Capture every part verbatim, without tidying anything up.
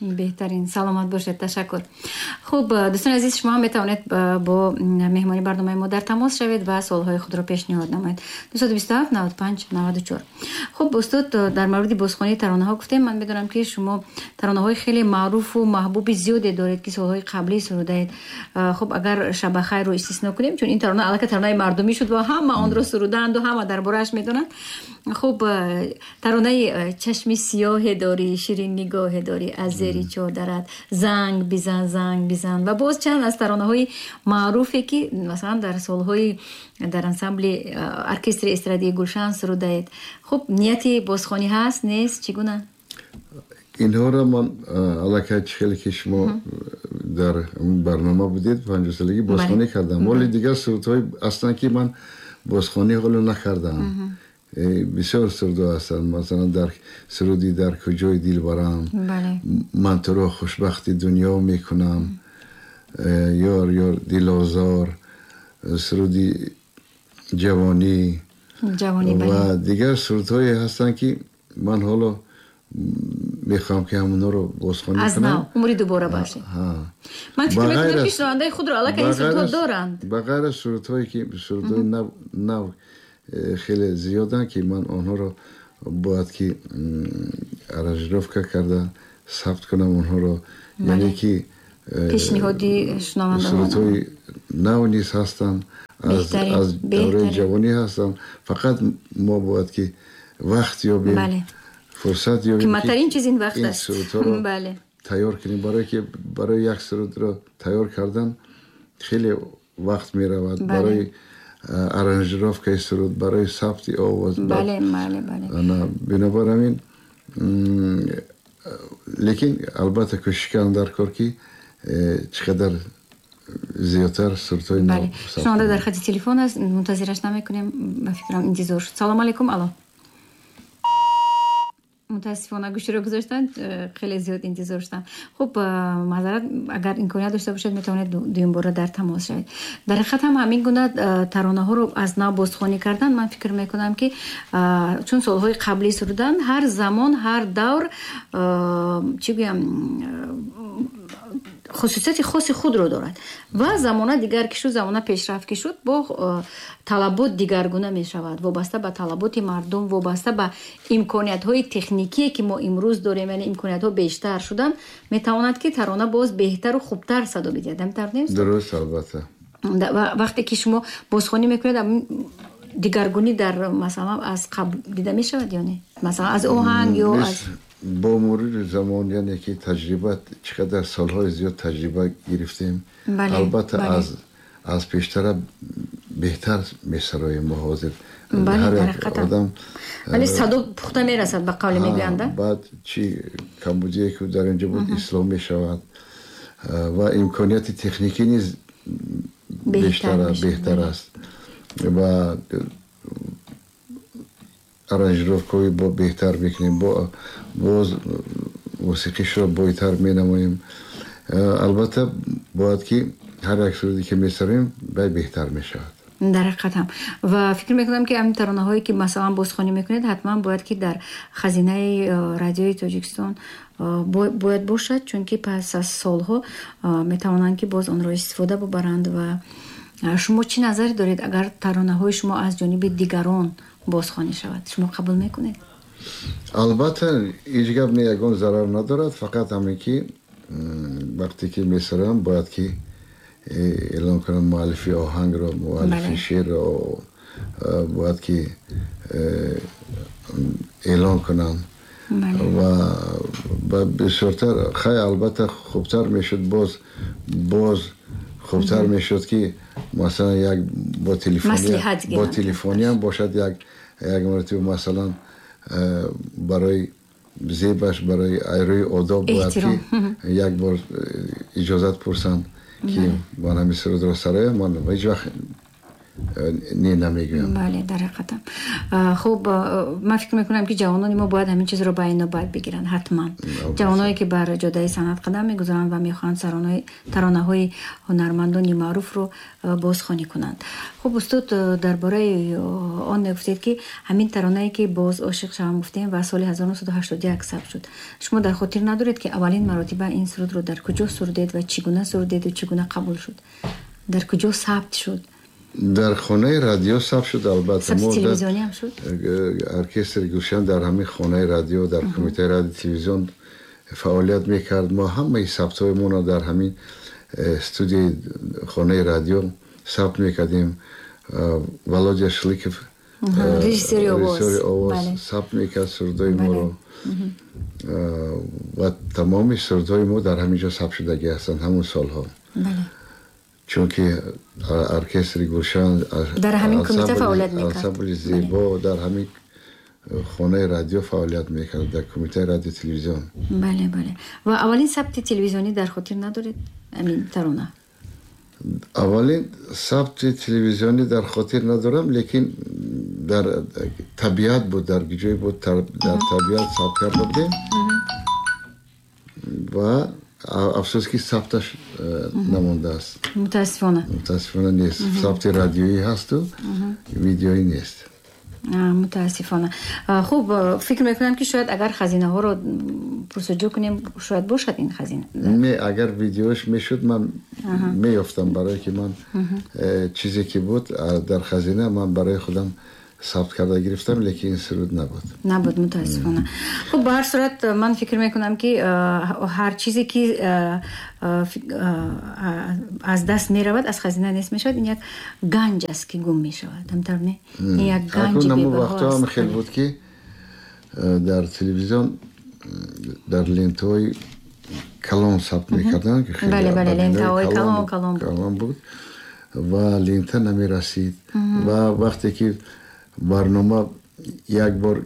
Беҳтарин, саломат бошед, ташаккур. Хуб, дӯстони азиз, шумо ҳам метавонед бо меҳмони барномаи мо дар тамос шавед ва суолҳои худро пешниҳод намоед. дусаду бисту ҳафт наваду панҷ наваду чор. Хуб, устод, дар мавриди бозхонии таронаҳо гуфтем. Ман медонам, ки шумо таронаҳои хеле маъруфу маҳбуби зиёде доред, ки солҳои қаблӣ сурудаед. Хуб, агар «Шабахайрро» истисно кунем, чун ин тарона аллакай таронаи мардумӣ шуд ва ҳама онро сурудаанду ҳама дар борааш медонанд. Хуб, таронаи «Чашми сиёҳе дорӣ, ширин нигоҳе дорӣ, аз зери чодарат занг бизан, занг бизан» ва боз чанд аз таронаҳои маъруфе, ки масалан дар солҳои дар ансамбли оркестри эстрадии «Гулшан» сурудаед. Хуб, нияти бозхонӣ ҳаст, нест, чӣ гуна? Инҳоро ман аллакай, чӣ хеле ки шумо дар барнома будед, панҷоҳсолагӣ бозхонӣ кардам. Вале дигар сурудҳои ҳастанд, ки ман бозхонӣ ҳоло накардаам. Бисёр сурудҳо ҳастанд, масалан, дар суруди «Дар куҷои дилбарам», «Ман туро хушбахти дунё мекунам», «Ёр, ёр, дилозор», суруди «Ҷавонӣ» ва дигар сурудҳое ҳастанд, ки ман ҳоло мехоҳам, ки ҳамонҳоро бозхонӣ аз нав умри дубора бошед. Ман фикр мекунам, ки шунавандаи худро аллакай ин сурудҳо доранд. Ба ғайр аз сурудҳое, ки сурудҳои нав нав э, хеле зиёданд, ки ман онҳоро бояд ки аранжировка карда сабт кунам онҳоро, яъне ки э, пешниҳоди шунавандагон. Сурудҳои нав низ ҳастанд, аз давраи ҷавонӣ ҳастанд. Фақат мо бояд ки вақт ёбем, фурсат ёбем. Қиматтарин чиз ин вақт аст. Сурудҳоро тайёр кунем, барое ки барои як сурудро тайёр кардан хеле вақт меравад, барои аранжировкаи суруд, барои сабти овоз. Бинобар ҳамин, лекин албатта кӯшиш кардам дар кор, ки э, чӣ қадар зиёдтар сурудҳои нав. Шунаванда дар хати телефон аст, мунтазираш намекунем, ба фикрам, интизор шуд. Салому алайкум, алло. Мутаассифона, гӯширо гузоштанд, э, хеле зиёд интизор шуданд. Хуб, э, маъзарат, агар имконият дошта бошед, метавонед дуюмбора дар тамос шавед. Дар ҳақиқат ҳам ҳамин гуна э, таронаҳоро аз нав бозхонӣ кардан, ман фикр мекунам, ки чун солҳои қаблӣ сурудан, ҳар замон, ҳар давр, чӣ гӯям, хусусияти хоси худро дорад ва замона дигар ки шуд, замона пешрафт ки шуд, бо э, талабот дигаргуна мешавад, вобаста ба талаботи мардум, вобаста ба имкониятҳои техникие, ки мо имрӯз дорем, яъне имкониятҳо бештар шуданд, метавонад, ки тарона боз беҳтару хубтар садо бидиҳад. Ҳамин нест? Дуруст, албатта. Вақте ки шумо бозхонӣ мекунед, дигаргунӣ дар, масалан, аз қабл дида мешавад ё не, масалан, аз оҳанг ё аз Бо мурури замон, яъне ки таҷриба, чӣ қадар солҳои зиёд таҷриба гирифтем, албатта, аз аз пештара беҳтар месароем мо ҳозир. Ҳар як одам вале садо пухта мерасад, ба қавле мегӯянд. Баъд чӣ камбудие ки дар инҷо буд, ислоҳ мешавад ва имконияти техникӣ низ бештар, беҳтар аст ва аранжировкаҳои бо беҳтар мекунем, боз мусиқишро бойтар менамоем. Албатта, бояд ки ҳар як суруде ки месароем, бай беҳтар мешавад. Дар ҳақиқат ҳам, ва фикр мекунам, ки ҳамин таронаҳое, ки масалан бозхонӣ мекунед, ҳатман бояд ки дар хазинаи э, Радиои Тоҷикистон э, бояд бошад, чунки пас аз солҳо э, метавонанд, ки боз онро истифода бубаранд. Ва шумо чӣ назаре доред, агар таронаҳои шумо аз ҷониби дигарон бозхонӣ шавад, шумо қабул мекунед? Албатта, ҳеҷ гап не, ягон зарар надорад. Фақат ҳамин ки вақте ки месароям, бояд ки э, эълон кунам муаллифи оҳангро, муаллифи шеърро э, бояд ки э, эълон кунанд. Ва бисёртар хай, албатта, хубтар мешуд, боз боз хубтар мешуд, ки масалан як бо телефони бо телефониам бошад, як як маротиба, масалан, барои зебаш, барои айрӯи одоб бояд ки як бор иҷозат пурсанд, ки ман ҳамин сурудро сароям. Ман ҳеҷ вақт не намегӯям. Бале, дар ҳақиқатам. Хуб, ман фикр мекунам, ки ҷавонони мо бояд ҳамин чизро ба инобат бигиранд ҳатман. Ҷавоное ки бар ҷодаи санъат қадам мегузоранд ва мехоҳанд таронаҳои ҳунармандони маъруфро бозхонӣ кунанд. Хуб, устод, дар бораи он мегуфтед, ки ҳамин таронае ки боз ошиқ шавам гуфтем ва соли ҳазору нӯҳсаду ҳаштоду як сабт шуд. Шумо дар хотир надоред, ки аввалин маротиба ин сурудро дар куҷо сурудед ва чӣ гуна сурудед ва чӣ гуна қабул шуд? Дар куҷо сабт шуд? Дар хонаи радио сабт шуд, албатта. Сабти телевизионӣ ҳам шуд? Оркестри Гулшан дар ҳамин хонаи радио, дар кумитаи радио телевизион фаъолият мекард. Мо ҳамаи сабтҳои моно дар ҳамин студияи хонаи радио сабт мекардем. Володя Шликов, режиссери овоз, сабт мекард сурудҳои моро ва тамоми сурудҳои мо дар ҳамин ҷо сабт шудагӣ ҳастанд ҳамон солҳо. Чунки оркестри Гулшан дар ҳамин кумита фаъолият мекард, ансамбли зебо дар ҳамин хонаи радио фаъолият мекард, дар кумитаи радио телевизион. Бале, бале. Ва аввалин сабти телевизионӣ дар хотир надоред ҳамин тарона? Аввалин сабти телевизионӣ дар хотир надорам, лекин дар табиат буд, дар ҷое буд, дар табиат сабт карда будем ва афсӯс ки сабташ намондааст. Мутаассифона. Мутаассифона нест. Сабти радиоӣ ҳасту видеоӣ нест. Мутаассифона. Хуб, фикр мекунам, ки шояд агар хазинаҳоро пурсуҷӯ кунем, шояд бошад ин хазина. Не, агар видеош мешуд, ман меёфтам, барое ки ман чизе ки буд дар хазина, ман барои худам сабт карда гирифтам, лекин ин суруд набуд. Набуд, мутаассифона. Хуб, ба ҳар сурат ман фикр мекунам, ки ҳар чизе ки аз даст меравад, аз хазина нест мешавад, ин як ганҷ аст, ки гум мешавад. Ҳамтавр не? Ин як ганҷи бебаҳо аст. Вақтҳо ҳам хел буд, ки дар телевизион дар лентаҳои калон сабт мекарданд. Бале, бале, лентаҳои калон калон калон буд ва лента намерасид. Ва вақте ки барнома як бор,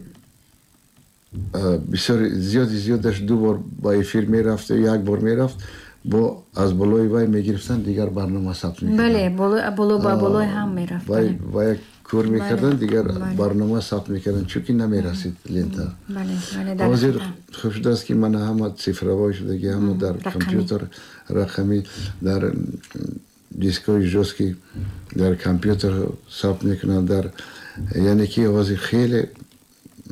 бисёр зиёди зиёдаш ду бор ба эфир мерафт, як бор мерафт, бо аз болои вай мегирифтанд, дигар барнома сабт мекарданд. Бале, боло ба болои ҳам мерафт. Ва як кор мекарданд, дигар барнома сабт мекарданд, чунки намерасид лента. Ҳозир хуб шудааст, ки мана ҳама цифровой шудаги, ҳама дар компютер рақамӣ, дар дискҳои жёсткий дар компютер сабт мекунанд, дар яъне ки ҳозир хеле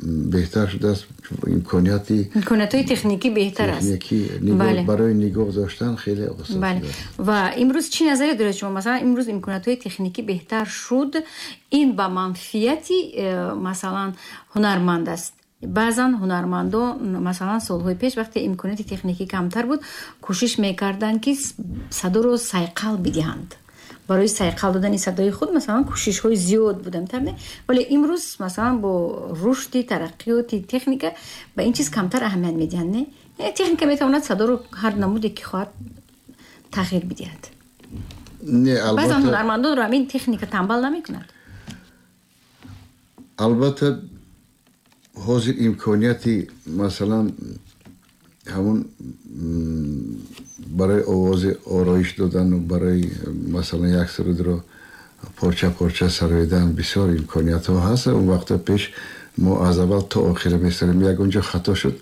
беҳтар шудааст, имконияти имкониятҳои техникӣ беҳтар аст. Барои нигоҳ доштан хеле осон. Ва имрӯз чӣ назаре доред шумо? Масалан, имрӯз имкониятҳои техникӣ беҳтар шуд, ин ба манфиати масалан ҳунарманд аст. Баъзан ҳунармандон, масалан, солҳои пеш вақте имконияти техникӣ камтар буд, кӯшиш мекарданд, ки садоро сайқал бидиҳанд. Барои сайқал додани садои худ, масалан, кӯшишҳои зиёд буданд, не? Вале имрӯз, масалан, бо рушди тараққиёти техника ба ин чиз камтар аҳамият медиҳанд, не? Техника метавонад садоро ҳар намуде ки хоҳад тағйир бидиҳад. Не, албатта. Баъзан ҳунармандонро ҳамин техника танбал намекунад. Албатта, ҳозир имконияти, масалан, ҳамон барои овози ороиш додану барои, масалан, як сурудро порча порча сароидан бисёр имкониятҳо ҳаст. Он вақто пеш мо аз аввал то охира месарем, ягон ҷо хато шуд,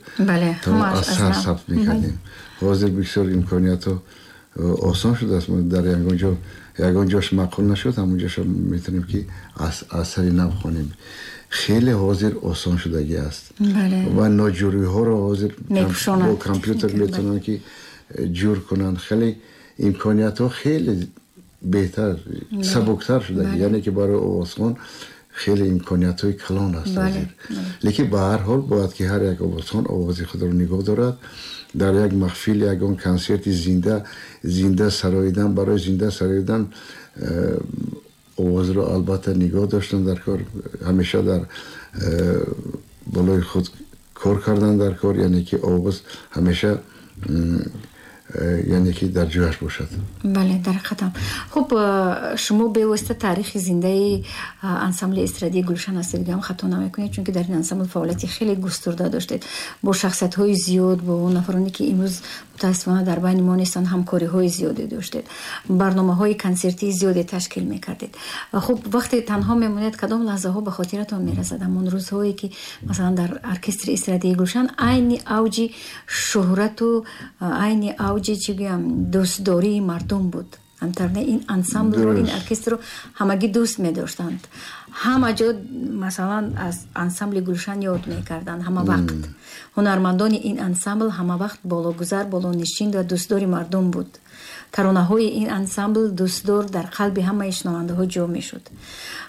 то аз сар сабт мекардем. Ҳозир бисёр имкониятҳо осон шудааст. Мо дар ягон ҷо ягон ҷош маъқул нашуд, ҳамон ҷоша метавонем, ки аз сари нав хонем. Хеле ҳозир осон шудагӣ аст ва ноҷӯриҳоро ҳозир бо компютер метавонанд, ки ҷур кунанд. Хеле имкониятҳо хеле беҳтар, сабуктар шудагӣ, яъне ки барои овозхон хеле имкониятҳои калон аст ҳозир. Лекин ба ҳар ҳол бояд, ки ҳар як овозхон овози худро нигоҳ дорад. Дар як маҳфил, ягон консерти зинда зинда сароидан, барои зинда сароидан овозро албатта нигоҳ доштан дар кор, ҳамеша дар болои худ кор кардан дар кор, яъне ки овоз ҳамеша яъне ки дар ҷояш бошад. Бале, дар ҳақиқатам. Хуб, шумо бевосита таърихи зиндаи ансамбли эстрадии Гулшан ҳастед, гам хато намекунед, чунки дар ин ансамбл фаъолияти хеле густурда доштед, бо шахсиятҳои зиёд, бо нафароне ки имрӯз мутаассифона дар байни мо нестанд, ҳамкориҳои зиёде доштед, барномаҳои консертии зиёде ташкил мекардед. Хуб, вақте танҳо мемонед, кадом лаҳзаҳо ба хотиратон мерасад? Ҳамон рӯзҳое ки масалан дар оркестри эстрадии Гулшан айни авҷи шӯҳрату айни авҷи, чӣ гӯям, дӯстдории мардум буд. Ҳамтарне ин ансамблро, ин оркестрро ҳамагӣ дӯст медоштанд. Ҳама ҷо масалан аз ансамбли Гулшан ёд мекарданд ҳама вақт. Ҳунармандони ин ансамбл ҳама вақт бологузар, болонишин ва дӯстдори мардум буд. Таронаҳои ин ансамбл дӯстдор дар қалби ҳамаи шунавандаҳо ҷо мешуд.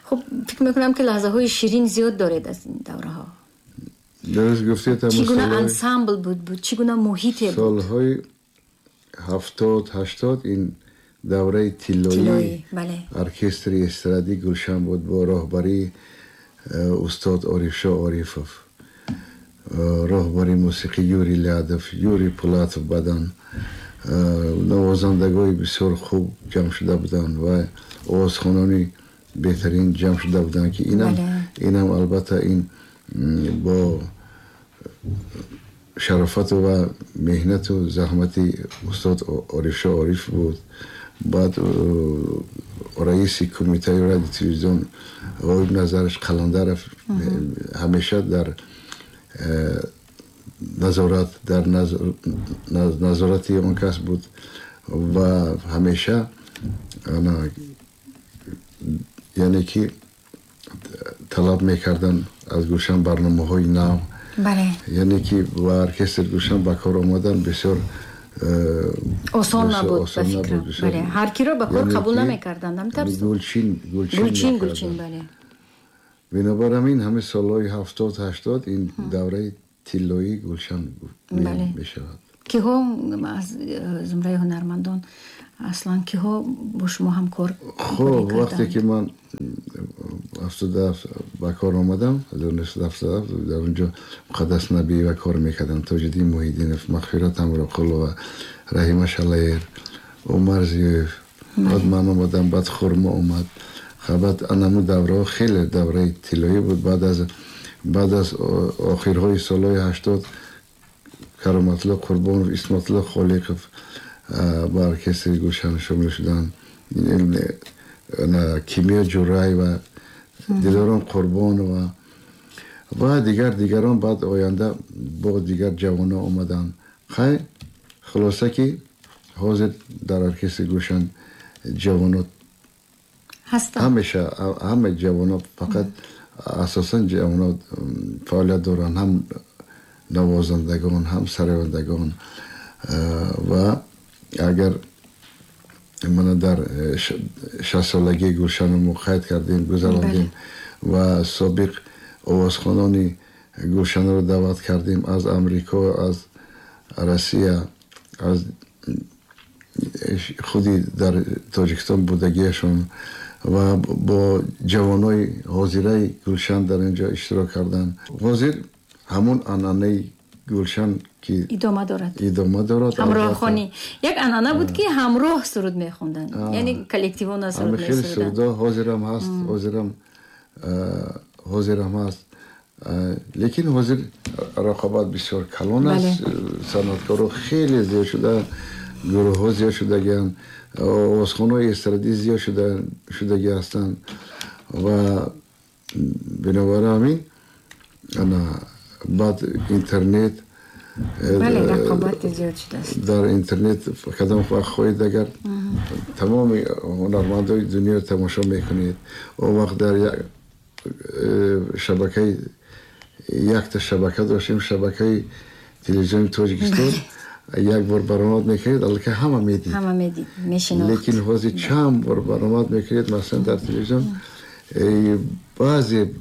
Хуб, фикр мекунам ки лаҳзаҳои ширин зиёд доред аз ин давраҳо. Дуруст гуфтед. Чӣ гуна ансамбл буд, буд чӣ гуна муҳите буд? Солҳои ҳафтод, ҳаштод ин давраи тиллоии оркестри эстрадии Гулшан буд бо роҳбарии устод Орифшо Орифов, роҳбари мусиқӣ Юрий Лядов, Юрий Пулатов, баъдан навозандагои бисёр хуб ҷамъ шуда буданд ва овозхонони беҳтарин ҷамъ шуда буданд, ки инам инам албатта ин бо шарофату ва меҳнату заҳмати устод Орифшо Ориф буд. Баъд раиси кумитаи радио телевизион Ғоиб Назараш Қаландаров ҳамеша дар назорат, дар назорати он кас буд ва ҳамеша, яъне ки талаб мекарданд аз Гулшан барномаҳои нав. Яъне ки ба оркестри Гулшан ба кор омадан бисёр осон набуд, ба фикрам. Бале, ҳар киро ба кор қабул намекарданд. Ҳамтар гулчин, гулчин, гулчин, бале. Бинобар ҳамин ҳамаи солҳои ҳафтод, ҳаштод ин давраи тиллоии Гулшан мешавад. Киҳо аз зумраи ҳунармандон аслан киҳо бо шумо ҳамкор? Хуб, вақте ки ман ҳафтоду ҳафт ба кор омадам, ҳазору нӯҳсаду ҳафтоду ҳафт, дар онҷо Муқаддас Набиева кор мекардам, Тоҷиддин Муҳиддинов, Мағфират Ҳамроқулова, Раҳима Шалаер, Умар Зиёев. Баъд ман омадам, баъд Хурмо омад. Баъд анаму давраҳо хеле давраи тиллоӣ буд. Баъд аз баъд аз охирҳои солҳои ҳаштод Кароматулло Қурбонов, Исматулло Холиқов ба оркестри Гулшан шомил шуданд. Кимиё Ҷураева, Дилором Қурбонова ва дигар дигарон. Баъд оянда бо дигар ҷавонҳо омаданд. Хай, хулоса ки ҳозир дар оркестри Гулшан ҷавонҳо ҳастанд. Ҳамеша ҳама ҷавонҳо, фақат асосан ҷавонҳо фаъолият доранд, ҳам навозандагон, ҳам сарояндагон. Ва агар мана дар шастсолагии Гулшану мо қайд кардем, гузарондем ва собиқ овозхонони Гулшанро даъват кардем аз Амрико, аз Россия, аз худи дар Тоҷикистон будагиашон ва бо ҷавонои ҳозираи Гулшан дар инҷо иштирок карданд. Ҳозир ҳамон анъанаи Гулшан ки идома дорад, идома дорад. Ҳамроҳхонӣ як анъана буд ки ҳамроҳ суруд мехонданд, яъне коллективона суруд хеле месуруданд. Сурудҳо ҳозирам ҳаст, ҳозирам ҳозирам ҳаст, лекин ҳозир рақобат бисёр калон аст. Санъаткорҳо хеле зиёд шуда, гурӯҳҳо зиёд шудагианд, овозхонаҳои эстрадӣ зиёд шудагӣ ҳастанд ва бинобар ҳамин ана баъд интернет, бале, рақобат зиёд шудааст. Дар интернет кадом вақт хоҳед, агар тамоми ҳунармандои дунёро тамошо мекунед. Он вақт дар шабакаи якта шабака доштем, шабакаи телевизиони Тоҷикистон. Як бор баромад мекунед, аллакай ҳама медид, ҳама медид, мешинохт. Лекин ҳозир чанд бор баромад мекунед, масалан дар телевизион баъзе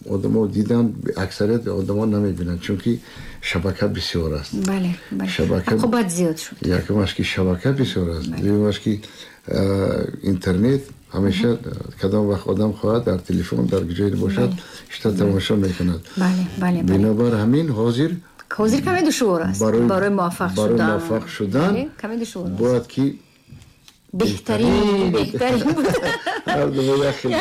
одамо дидан, аксарияти одамо намебинанд, чунки шабака бисёр аст. Бале, бале, рақобат зиёд шуд. Якумаш ки шабака бисёр аст, дуюмаш ки интернет ҳамеша кадом вақт одам хоҳад дар телефон, дар ҷое бошад, шита тамошо мекунад. Бале, бале. Бинобар ҳамин ҳозир ҳозир каме душвор аст барои муваффақ шудан. Барои муваффақ шудан каме душвор аст. Бояд ки беҳтарин беҳтарин буд.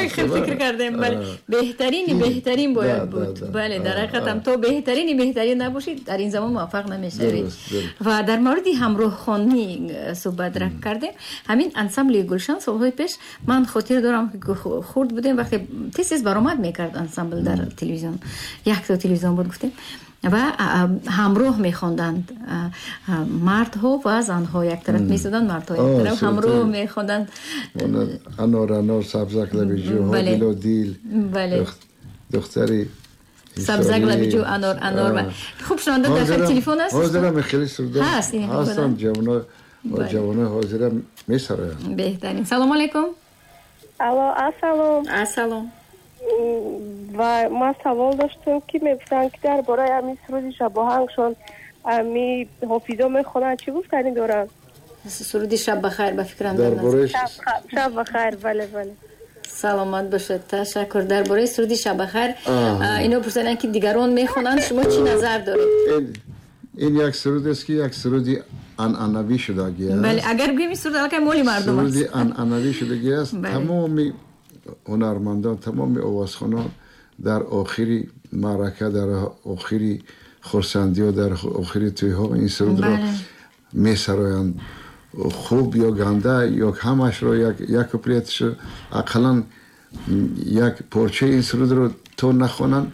Як хел фикр кардем, бале, беҳтарини беҳтарин бояд буд. Бале, дар ҳақиқат ҳам то беҳтарини беҳтарин набошӣ, дар ин замон муваффақ намешавӣ. Ва дар мавриди ҳамроҳхонӣ суҳбат кардем. Ҳамин ансамбли Гулшан солҳои пеш ман хотир дорам, хурд будем, вақте тез тез баромад мекард ансамбл дар телевизион, як то телевизион буд, гуфтем, ва ҳамроҳ мехонданд мардҳо ва занҳо, як тараф меистоданд, мардҳо як тараф, ҳамроҳ мехонданд. Анор, анор, сабзак лаби ҷӯ, дило дил, духтари сабзак лаби ҷӯ, анор, анор. Хуб, шунаванда дар телефон аст. Ҳозирам хеле сурудҳо ҳастанд, ҷавоно ҷавонои ҳозира месароянд. Беҳтарин. Салому алайкум. Алло, ассалом. Ассалом. Ва ман савол доштам, ки мегуфтанд, ки дар бораи ҳамин суруди шабоҳангшон ҳами ҳофизо мехонанд, чӣ гуфтанӣ доранд? Суруди шаб бахайр, ба фикрам. Дар бораи шаб бахайр, бале, бале. Саломат бошед, ташаккур. Дар бораи суруди шаб бахайр ино пурсиданд, ки дигарон мехонанд, шумо чӣ назар доред? Ин як суруд аст, ки як суруди анъанавӣ шудагӣ аст. Бале, агар гӯем, ин суруд аллакай моли мардум аст. Суруди анъанавӣ шудагӣ аст. Тамоми ҳунармандон, тамоми овозхонон дар охири маърака, дар охири хурсандиҳо, дар охири тӯйҳо ин сурудро месароянд. Хуб ё ганда, ё ҳамашро, як куплетшо, ақаллан як порчаи ин сурудро то нахонанд,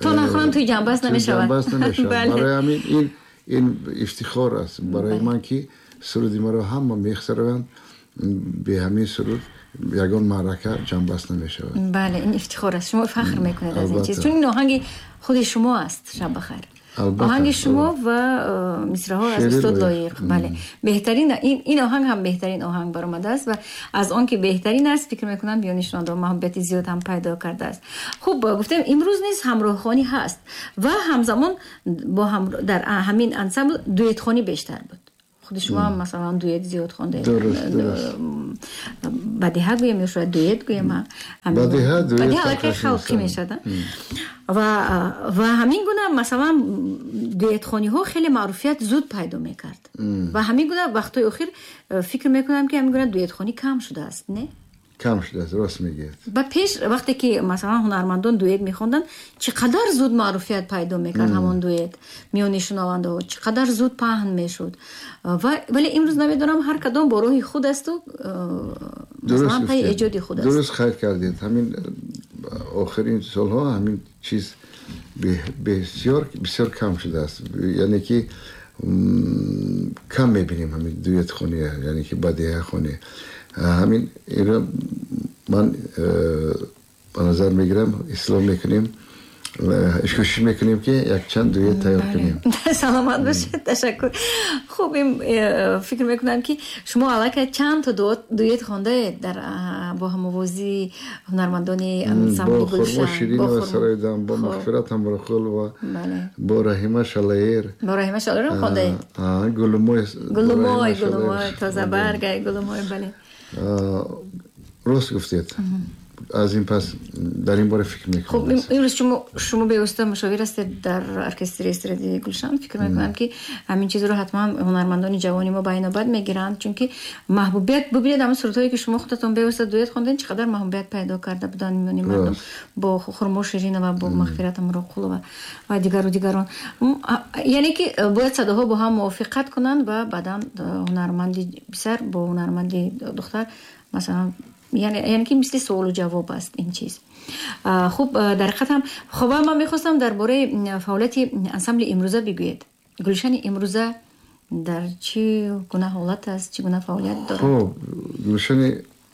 то нахонанд, тӯи ҷанбаст намешавад. Ҷанбаст намешавад. Барои ҳамин ин ин ифтихор аст барои ман, ки суруди маро ҳама месароянд. Бе ҳамин суруд ягон маърака ҷанбаст намешавад. Бале, ин ифтихор аст. Шумо фахр мекунед аз ин чиз, чун ин оҳанги худи шумо аст, шаб бахайр. Оҳанги шумо ва мисраҳо аз устод Лоиқ. Бале, беҳтарин ин оҳанг ҳам беҳтарин оҳанг баромадааст ва аз он ки беҳтарин аст, фикр мекунам, миёни шунавандагон маҳбубияти зиёд ҳам пайдо кардааст. Хуб, гуфтем, имрӯз низ ҳамроҳхонӣ ҳаст ва ҳамзамон бо дар ҳамин ансамбл дуэтхонӣ бештар буд. Худи шумо ҳам, масалан, дуэт зиёд хондаед. Бадиҳа гӯем ё шояд дуэт гӯем? Бадиҳа, дуэт бадиҳа аллакай халқӣ мешавад. Ва ва ҳамин гуна, масалан, дуэтхониҳо хеле маъруфият зуд пайдо мекард. Ва ҳамин гуна вақтҳои охир фикр мекунам, ки ҳамин гуна дуэтхонӣ кам шудааст, не? Кам шудааст, рост мегӯяд. Ба пеш вақте ки, масалан, ҳунармандон дуэт мехонданд, чӣ қадар зуд маъруфият пайдо мекард ҳамон дуэт миёни шунавандаҳо, чӣ қадар зуд паҳн мешуд. Вале имрӯз намедонам, ҳар кадом бо роҳи худ асту, масалан, пайи эҷоди худ аст. Дуруст қайд кардед. Ҳамин охирин солҳо ҳамин чиз бисёр бисёр кам шудааст. Яъне ки кам мебинем ҳамин дуэтхонӣ, яъне ки бадиҳахонӣ. Ҳамин инро ман ба назар мегирам, ислоҳ мекунем, кӯшиш мекунем, ки якчанд дуэт тайёр кунем. Саломат бошед, ташаккур. Хуб, фикр мекунам, ки шумо аллакай чанд то дуэт хондаед дар бо ҳамовозии ҳунармандони ансамбли Гулшан. Бо Хурмо Ширинова сароидам, бо Мағфират Ҳамроқулова, бо Раҳима Шалаер. Бо Раҳима Шалаерам хондаед? Гулумой. Гулумой, Гулумой, тозабаргай, Гулумой, бале. Рост гуфтед. Аз ин пас дар ин бора фикр мекунам. Хуб, имрӯз шумо шумо бевосита мушовир ҳастед дар оркестри эстрадии Гулшан. Фикр мекунам, ки ҳамин чизро ҳатман ҳунармандони ҷавони мо ба инобат мегиранд, чунки маҳбубият, бубинед, ҳамин сурудҳое, ки шумо худатон бевосита дуэт хондед, чӣ қадар маҳбубият пайдо карда буданд миёни мардум бо Хурмо Ширинова, бо Мағфират Ҳамроқулова ва дигару дигарон. Яъне ки бояд садоҳо бо ҳам мувофиқат кунанд ва баъдан ҳунарманди писар бо ҳунарманди духтар, масалан, яъне яъне ки мисли суолу ҷавоб аст ин чиз. Хуб, дар ҳақиқат ҳам. Хуб, ман мехостам дар бораи фаъолияти ансамбли имрӯза бигӯед. Гулшани имрӯза дар чӣ гуна ҳолат аст, чӣ гуна фаъолият дорад? Хуб, Гулшани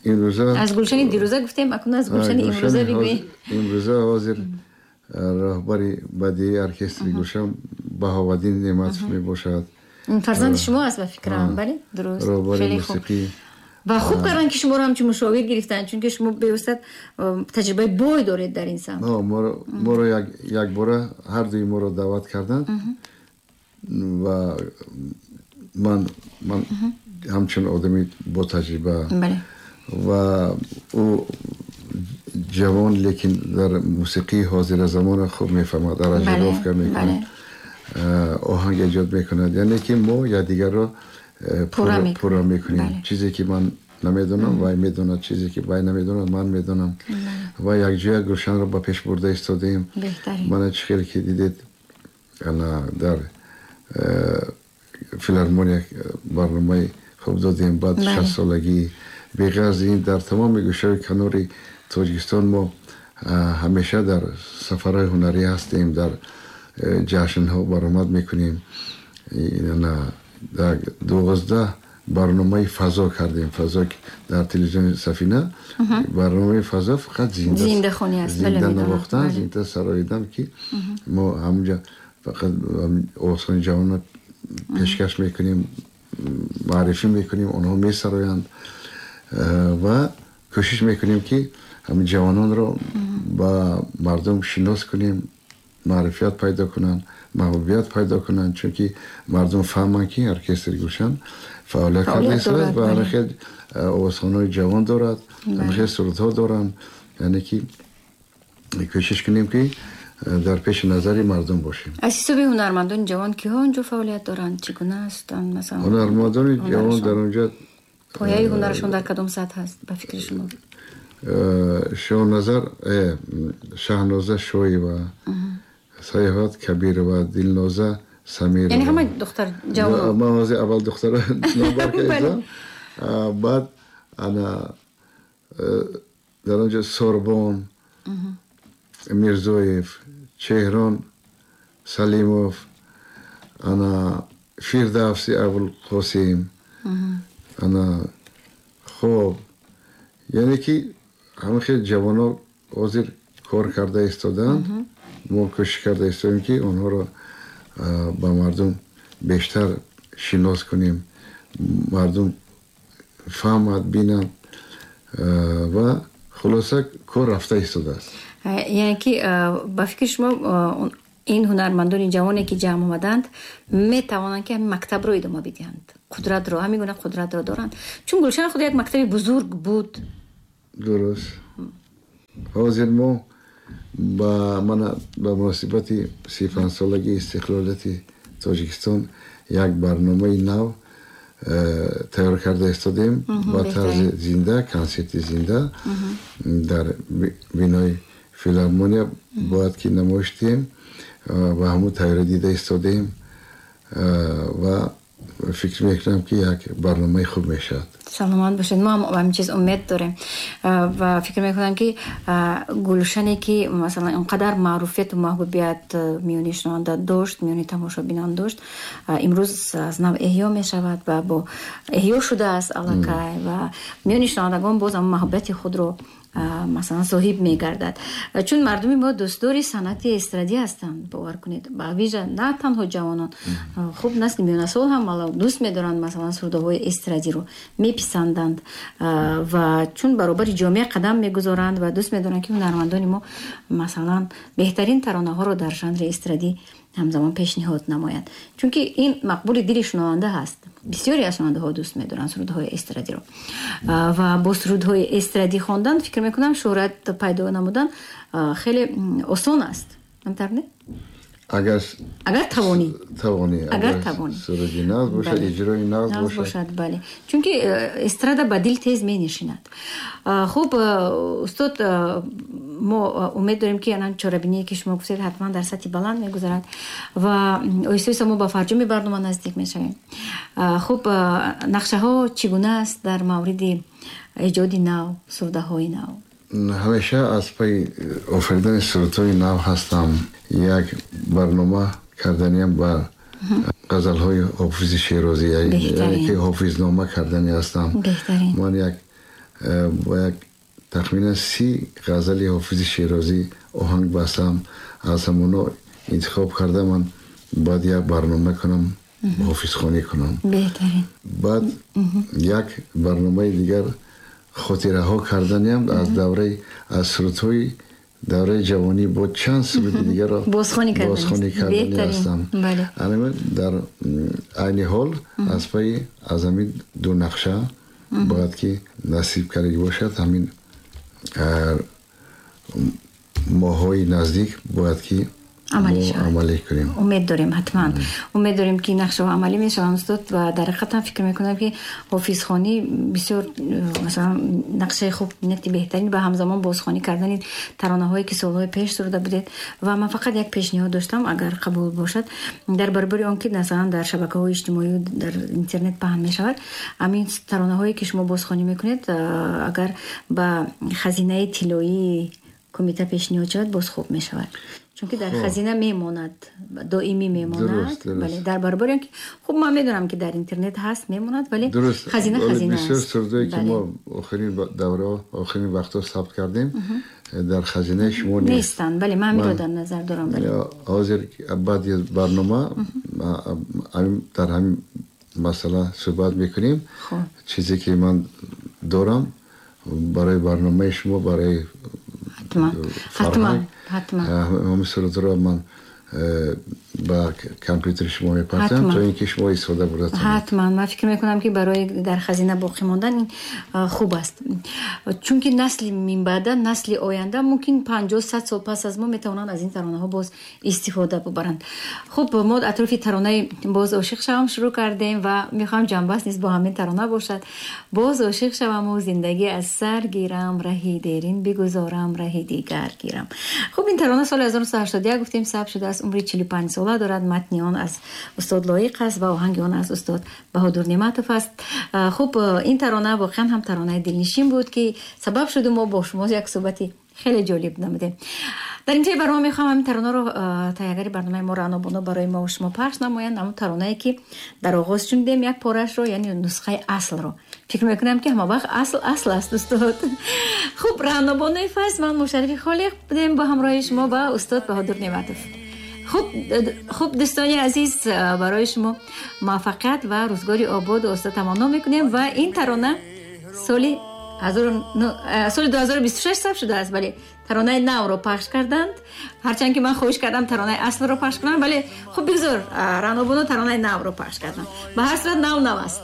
имрӯза, аз Гулшани дирӯза гуфтем, акнун аз Гулшани имрӯза бигӯед. Имрӯза ҳозир роҳбари бадии оркестри Гулшан Баҳоваддин Неъматов мебошад. Фарзанди шумо аст, ба фикрам, бале? Дуруст. Роҳбари мусиқӣ. Ва хуб карданд, ки шуморо ҳамчун мушовир гирифтанд, чунки шумо бевосита таҷрибаи бой доред дар ин самт. Моро якбора ҳардуи моро даъват карданд ва ман ман ҳамчун одами бо таҷриба ва ӯ ҷавон, лекин дар мусиқии ҳозира замона хуб мефаҳмад, аранжировка мекунад, оҳанг эҷод мекунад. Яъне ки мо якдигарро пурра мекунем. Чизе ки ман намедонам, вай медонад, чизе ки вай намедонад ман медонам. Ва якҷоя Гулшанро ба пеш бурда истодаем. Мана чӣ хеле ки дидед, ана дар филармония барномаи хуб додем, баъд шастсолагӣ. Беғарз ин дар тамоми гӯшаи канори Тоҷикистон мо ҳамеша дар сафарҳои ҳунарӣ ҳастем, дар ҷашнҳо баромад мекунем. Дар дувоздаҳ барномаи фазо кардем, фазо дар телевизиони Сафина, барномаи фазо фақат зиндахонӣ аст, зинда навохтан, зинда сароидан, ки мо ҳамунҷа фақат овозхони ҷавонро пешкаш мекунем, маърифӣ мекунем, онҳо месароянд ва кӯшиш мекунем, ки ҳамин ҷавононро ба мардум шинос кунем, маърифият пайдо кунанд, маҳбубият пайдо кунанд, чунки мардум фаҳманд, ки оркестри Гулшан фаъолият карда истодааст ва ҳамин овозхонаҳои ҷавон дорад, ҳамин сурудҳо доранд. Яъне ки кӯшиш кунем, ки дар пеши назари мардум бошем. Аз ҳисоби ҳунармандони ҷавон киҳо онҷо фаъолият доранд? Чӣ гуна ҳастанд? Масалан, ҳунармандони ҷавон дар онҷо пояи ҳунарашон дар кадом сатҳ ҳаст ба фикри шумо? Шоҳназар, Шаҳноза Шоева, Саёҳат Кабирова, Дилноза Самирова. Яъне ҳама духтар ҷавон. Ман ҳозир аввал духтара номбар кардам, баъд ана дар онҷо Сорбон Мирзоев, Чеҳрон Салимов, ана Фирдавси Абулқосим, ана хоб, яъне ки ҳама хел ҷавонҳо ҳозир кор карда истодаанд. Мо кӯшиш карда истодаем, ки онҳоро ба мардум бештар шинос кунем, мардум фаҳмад, бинанд ва хулоса кор рафта истодааст. Яъне ки ба фикри шумо ин ҳунармандони ҷавоне ки ҷамъ омаданд метавонанд, ки ҳамин мактабро идома бидиҳанд, қудратро, ҳамин гуна қудратро доранд, чун Гулшан худ як мактаби бузург буд. Дуруст. Ҳозир мо ба мана ба муносибати си панҷсолагии истиқлолияти Тоҷикистон як барномаи нав тайёр карда истодем ба тарзи зинда, консерти зинда дар бинои филармония бояд ки намоиш диҳем ва ҳамун тайёрӣ дида истодем ва фикр мекунам, ки як барномаи хуб мешавад. Саломат бошед. Мо ҳам ба ҳамин чиз умед дорем ва фикр мекунам, ки Гулшане ки масалан он қадар маъруфияту маҳбубият миёни шунаванда дошт, миёни тамошобинон дошт, имрӯз аз нав эҳё мешавад ва бо эҳё шудааст аллакай ва миёни шунавандагон боз ҳам маҳбубияти худро масалан соҳиб мегардад. Чун мардуми мо дӯстдори санъати эстрадӣ ҳастанд, бовар кунед, ба вижа на танҳо ҷавонон, хуб насли миёнасол ҳам дӯст медоранд масалан сурудҳои эстрадиро меписанданд ва чун баробари ҷомеа қадам мегузоранд ва дӯст медоранд, ки ҳунармандони мо масалан беҳтарин таронаҳоро дар жанри эстрадӣ ҳамзамон пешниҳод намоянд, чунки ин мақбули дили шунаванда ҳаст. Бисёре аз шунавандаҳо дӯст медоранд сурудҳои эстрадиро ва бо сурудҳои эстрадӣ хондан фикр мекунам шӯҳрат пайдо намудан хеле осон аст. Ҳамтар не? Агар агар тавонӣ, тавонӣ, агар тавонӣ, суруди нағз бошад, иҷрои нағз бошад, бале, чунки эстрада ба дил тез менишинад. Хуб, устод, мо умед дорем, ки анан чорабиние ки шумо гуфтед ҳатман дар сатҳи баланд мегузарад ва оҳиста оҳиста мо ба фарҷоми барнома наздик мешавем. Хуб, нақшаҳо чӣ гуна аст дар мавриди эҷоди нав, сурдаҳои нав? Ҳамеша аз пайи офаридани сурудҳои нав ҳастам. Як барнома карданиам ба ғазалҳои ҳофизи Шерозӣ, яъне ки ҳофизнома кардани ҳастам. Ман як бо як тахминан си ғазали ҳофизи Шерозӣ оҳанг бастам, аз ҳамоно интихоб карда ман бояд як барнома кунам, ҳофизхонӣ кунам. Баъд як барномаи дигар хотираҳо карданиам аз давраи аз сурудҳои давраи ҷавонӣ бо чанд суруди дигарро бозхонӣ кардани ҳастам. Дар айни ҳол аз пайи аз ҳамин ду нақша бояд ки насиб кардагӣ бошад, ҳамин моҳҳои наздик бояд ки амалӣ кунем. Умед дорем, ҳатман умед дорем, ки нақшаҳо амалӣ мешаванд, устод. Ва дар ҳақиқат ҳам фикр мекунам, ки ҳофизхонӣ бисёр, масалан, нақшаи хуб, нияти беҳтарин ва ҳамзамон бозхонӣ кардани таронаҳое, ки солҳои пеш суруда будед. Ва ман фақат як пешниҳод доштам, агар қабул бошад, дар баробари он ки, масалан, дар шабакаҳои иҷтимоӣ, дар интернет паҳн мешавад, ҳамин таронаҳое, ки шумо бозхонӣ мекунед, агар ба хазинаи тиллоии кумита пешниҳод шавад, боз хуб мешавад, чунки дар хазина мемонад, доимӣ мемонад. Бале, дар баробари он ки хуб, ман медонам, ки дар интернет ҳаст, мемонад, вале хазина хазина аст. Бисёр сурудое, ки мо охирин давраҳо, охирин вақтҳо сабт кардем, дар хазинаи шумо нест. Нестанд, бале, ман ҳаминро дар назар дорам, бале. Ҳозир баъди барнома дар ҳамин масъала суҳбат мекунем. Чизе ки ман дорам барои барномаи шумо, барои ҳатман, ҳатман, ҳатман. Ҳамин сурудро ман ба компютери шумо мепартам, то ин ки шумо истифода бурда тавонед. Ҳатман, ман фикр мекунам, ки барои дар хазина боқӣ мондан ин хуб аст, чунки насли минбаъда, насли оянда, мумкин панҷоҳ, сад сол пас аз мо метавонанд аз ин таронаҳо боз истифода бубаранд. Хуб, мо атрофи таронаи «Боз ошиқ шавам» шурӯъ кардем ва мехоҳам ҷамъбаст низ бо ҳамин тарона бошад. Боз ошиқ шаваму зиндагӣ аз сар гирам, раҳи дерин бигузорам, раҳи дигар гирам. Хуб, ин тарона соли ҳазору нӯҳсаду ҳаштоду як, гуфтем, сабт шудааст, умри чилу панҷ сола дорад. Матни он аз устод Лоиқ аст ва оҳанги он аз устод Баҳодур Неъматов аст. Хуб, ин тарона воқеан ҳам таронаи дилнишин буд, ки сабаб шуду мо бо шумо як суҳбати хеле ҷолиб намудем. Дар интиҳои барнома мехоҳам ҳамин таронаро таҳиягари барномаи мо Раънобоно барои мо шумо пахш намоянд, ҳамон таронае, ки дар оғоз шунидем як порашро, яъне нусхаи аслро. Фикр мекунам, ки ҳама вақт асл асл аст, устод. Хуб, Раънобонои Файз, ман Мушаррафи Холиқ будем бо ҳамроҳи шумо ва устод Баҳодур Неъматов. Хуб, хуб, дӯстони азиз, барои шумо муваффақият ва рӯзгори ободу оста таманно мекунем. Ва ин тарона соли соли ду ҳазору бисту шаш сабт шудааст, вале таронаи навро пахш карданд, ҳарчанд ки ман хоҳиш кардам таронаи аслро пахш кунам, вале хуб, бигзор, Раънобоно таронаи навро пахш карданд. Ба ҳар сурат, нав нав аст.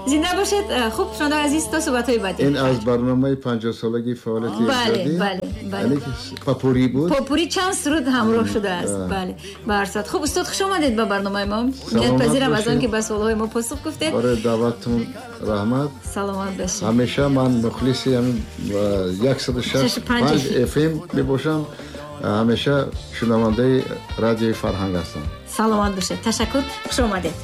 Зинда бошед. Хуб, шунавандаи азиз, то суҳбатҳои баъдӣ. Ин аз барномаи панҷоҳсолагии фаъолияти бале бале бале попури буд. Попури чанд суруд ҳамроҳ шудааст, бале. Ба ҳар сурат, хуб, устод, хуш омадед ба барномаи мо. Миннатпазирам аз он ки ба суолҳои мо посух гуфтед. Барои даъваттон раҳмат. Саломат бошед. Ҳамеша ман мухлиси ҳамин яксаду шаш панҷ F M мебошам, ҳамеша шунавандаи радиои Фарҳанг ҳастам. Саломат бошед, ташаккур, хуш омадед.